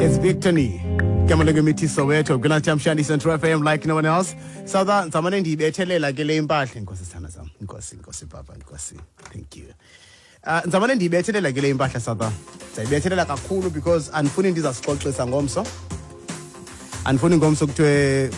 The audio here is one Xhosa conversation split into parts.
It's Victory. Igama Soweto. Good Shandy Central FM like no one else. Sawuda ndizamane ndiyibethelela ke le impahla. Inkosi sithanda sam. Inkosi, inkosi papa, inkosi. Thank you. Ndizamane ndiyibethelela ke le impahla Sawuda. Ndizayibethelela kakhulu because andifuni ndizasixoxisa ngomso. Andifuni ngomso kuthiwe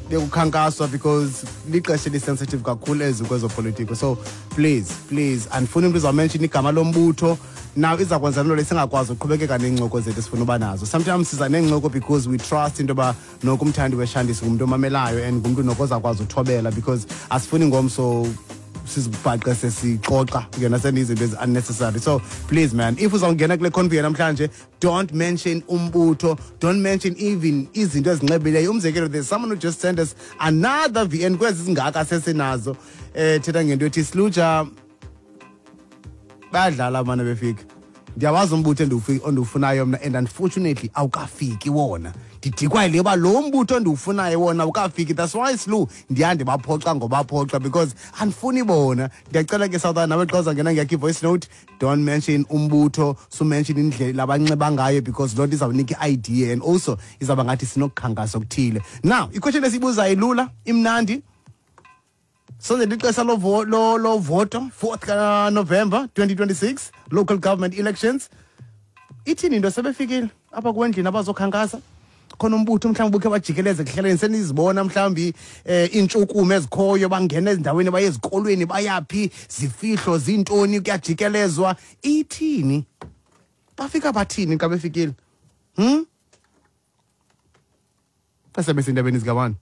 bekukhankaswa because lixesha elisensitive kakhulu ezi kwezopolitiko. So please, please, andifuni umntu uzawumention igama lombutho. Now iza kwenza loo nto le singakwazi uqhubekeka neencoko zethu esifuna uba nazo. Sometimes siza neencoko because we trust into yoba noko umthandi weshandisi ngumntu omamelayo and ngumntu noko ozakwazi uthobela, because asifuni ngomso sizibhaqe sesixoxa ngena sendizinto ezi-unnecessary. So please man, if uzawungena kule convo namhlanje, don't mention umbutho, don't mention even izinto ezinxibileyo. Umzekelo, there's someone who just sent us another VN kwezi zingaka sesinazo, thetha ngento ethi siluja bayadlala abana befika. Ndiyawazi umbutho endiwufunayo mna, and unfortunately awukafiki wona. Ndidikwa yile yoba lo mbutho endiwufunayo wona awukafiki. That's why slu ndiya ndibaphoxa ngobaphoxa, because andifuni bona. Ndiyacela ke South, nawe xa uzangena ngeyakho i-voice note, don't mention umbutho, sumention indlela abanxiba ngayo, because loo nto izawunika i-idea and also izawuba ngathi sinokukhankasa okuthile. Now iquestion esiyibuzayo ilula, imnandi. Sondela ixesha lovoto, 4th kaNovember 2026, local government elections. Ithini into, sebefikile apha kwendlini abazokhankasa? Khona umbutho mhlawumbi bukhe bajikeleze ekuhlaleni, senizibona mhlawumbi iintshukumo ezikhoyo, bangena ezindaweni, baye ezikolweni, bayaphi, zifihlo zintoni, kuyajikelezwa. Ithini, bafika bathini xa befikile? Besebesindabeni zikabani?